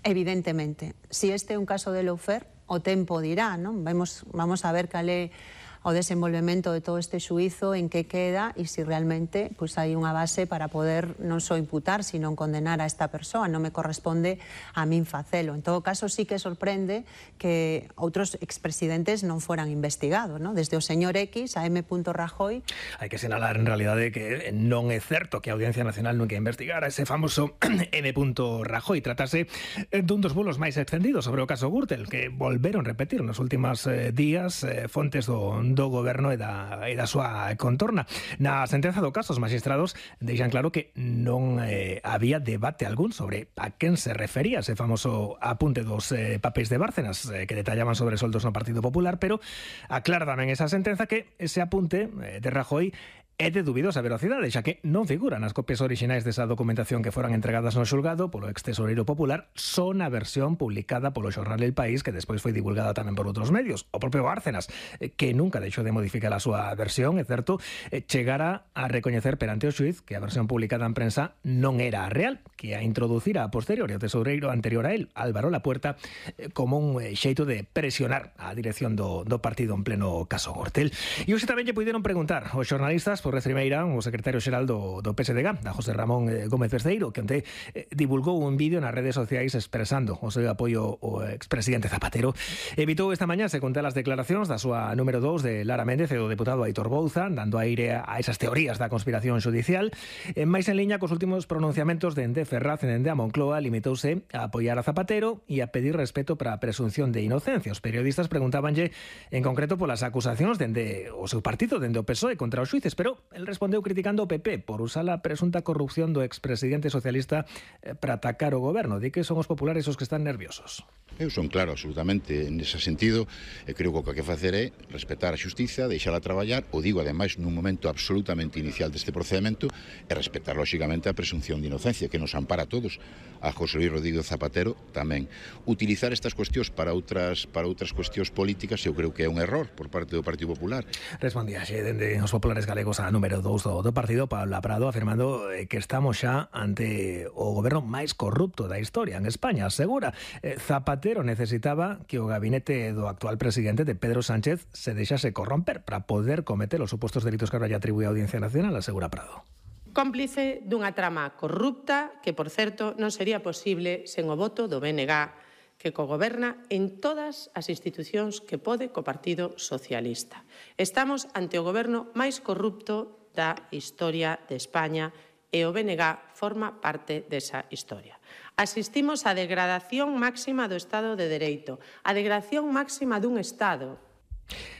Evidentemente. Si este é un caso de lawfare, o tempo dirá, non? Vamos a ver cal é o desenvolvemento de todo este xuízo, en que queda e se realmente hai unha base para poder non só imputar, sino condenar a esta persoa. Non me corresponde a min facelo. En todo caso, sí que sorprende que outros expresidentes non foran investigados, non? Desde o señor X a M. Rajoy. Hai que sinalar en realidade que non é certo que a Audiencia Nacional nunca investigara ese famoso M. Rajoy. Tratase dun dos bulos máis extendidos sobre o caso Gürtel, que volveron repetir nos últimos días fontes do goberno e da súa contorna. Na sentenza do caso, os magistrados deixan claro que non había debate algún sobre a quen se refería ese famoso apunte dos papéis de Bárcenas que detallaban sobre soldos no Partido Popular, pero aclara tamén esa sentenza que ese apunte de Rajoy é de dubidosa velocidade, xa que non figuran as copias orixinais desa documentación que foran entregadas no xulgado polo ex-tesoreiro popular, son a versión publicada polo xornal El País, que despois foi divulgada tamén por outros medios. O propio Bárcenas, que nunca deixou de modificar a súa versión, é certo, chegara a recoñecer perante o xuiz que a versión publicada en prensa non era a real, que a introducira a posteriori o tesoureiro anterior a él, Álvaro Lapuerta, como un xeito de presionar a dirección do partido en pleno caso Gürtel. E hoxe tamén lle puideron preguntar aos xornalistas por Rimeira, o secretario xeral do PSDG, a José Ramón Gómez Besteiro, que onte divulgou un vídeo nas redes sociais expresando o seu apoio ao expresidente Zapatero. Evitou esta mañá se contar as declaracións da súa número 2 de Lara Méndez e do deputado Aitor Bouza, dando aire a esas teorías da conspiración xudicial. Máis en liña cos últimos pronunciamentos dende Ferraz e dende a Moncloa, limitouse a apoiar a Zapatero e a pedir respeto para a presunción de inocencia. Os periodistas preguntábanlle en concreto polas acusacións dende o seu partido, dende o PSOE contra os xuíces, pero el respondeu criticando o PP por usar a presunta corrupción do expresidente socialista para atacar o goberno. Di que son os populares os que están nerviosos. Eu son claro absolutamente nese sentido, e creo que o que hai que facer é respetar a xustiza, deixala traballar, o digo ademais nun momento absolutamente inicial deste procedimento, e respetar lóxicamente a presunción de inocencia que nos ampara a todos, a José Luis Rodríguez Zapatero tamén. Utilizar estas cuestións para outras cuestións políticas eu creo que é un error por parte do Partido Popular. Respondía xe dende os populares galegos a número 2 do partido, Pablo Prado, afirmando que estamos xa ante o goberno máis corrupto da historia en España. Asegura, Zapatero necesitaba que o gabinete do actual presidente, de Pedro Sánchez, se deixase corromper para poder cometer os supostos delitos que ahora lle atribúe a Audiencia Nacional, asegura Prado. Cómplice dunha trama corrupta que, por certo, non sería posible sen o voto do BNG, que cogoberna en todas as institucións que pode co Partido Socialista. Estamos ante o goberno máis corrupto da historia de España e o BNG forma parte desa historia. Asistimos á degradación máxima do Estado de Dereito, a degradación máxima dun Estado.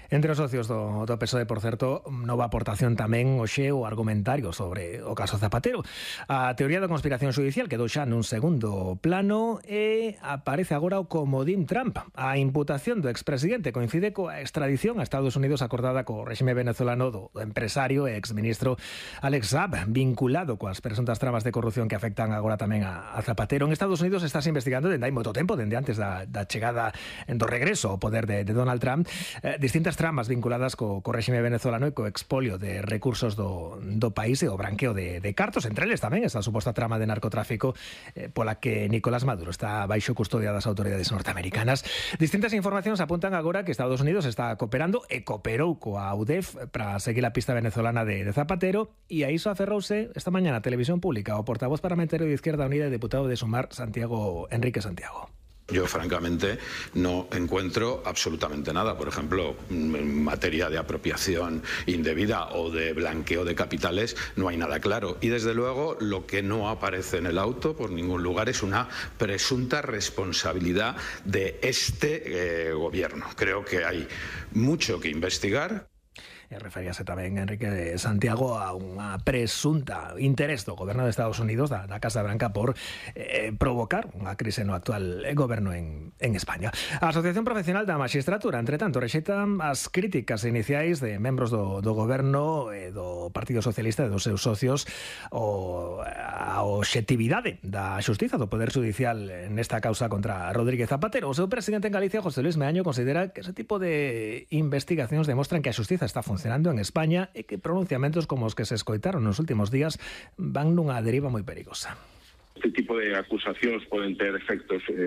Entre os socios do PSOE, por certo, nova aportación tamén hoxe o argumentario sobre o caso Zapatero. A teoría da conspiración xudicial quedou xa nun segundo plano e aparece agora o comodín Trump. A imputación do expresidente coincide coa extradición a Estados Unidos acordada co réxime venezolano do empresario e exministro Alex Saab, vinculado coas presuntas tramas de corrupción que afectan agora tamén a Zapatero. En Estados Unidos estás investigando dende hai moito tempo, dende antes da chegada do regreso ao poder de Donald Trump, distintas tramas vinculadas co réxime venezolano e co expolio de recursos do país e o branqueo de cartos, entre eles tamén esa suposta trama de narcotráfico pola que Nicolás Maduro está baixo custodia das autoridades norteamericanas. Distintas informacións apuntan agora que Estados Unidos está cooperando e cooperou coa UDEF para seguir a pista venezolana de Zapatero, e a iso aferrouse esta mañá na televisión pública o portavoz parlamentario de Izquierda Unida e deputado de Sumar, Enrique Santiago. Yo, francamente, no encuentro absolutamente nada. Por ejemplo, en materia de apropiación indebida o de blanqueo de capitales, no hay nada claro. Y, desde luego, lo que no aparece en el auto por ningún lugar es una presunta responsabilidad de este gobierno. Creo que hay mucho que investigar. Referíase tamén Enrique Santiago a unha presunta interés do goberno de Estados Unidos, da Casa Branca, por provocar unha crise no actual goberno en España. A Asociación Profesional da Maxistratura, entre tanto, rexeita as críticas iniciais de membros do goberno e do Partido Socialista e dos seus socios a obxectividade da xustiza do Poder Judicial nesta causa contra Rodríguez Zapatero. O seu presidente en Galicia, José Luis Meaño, considera que ese tipo de investigacións demostran que a xustiza está funcionando en España e que pronunciamentos como os que se escoitaron nos últimos días van nunha deriva moi perigosa. Este tipo de acusacións poden ter efectos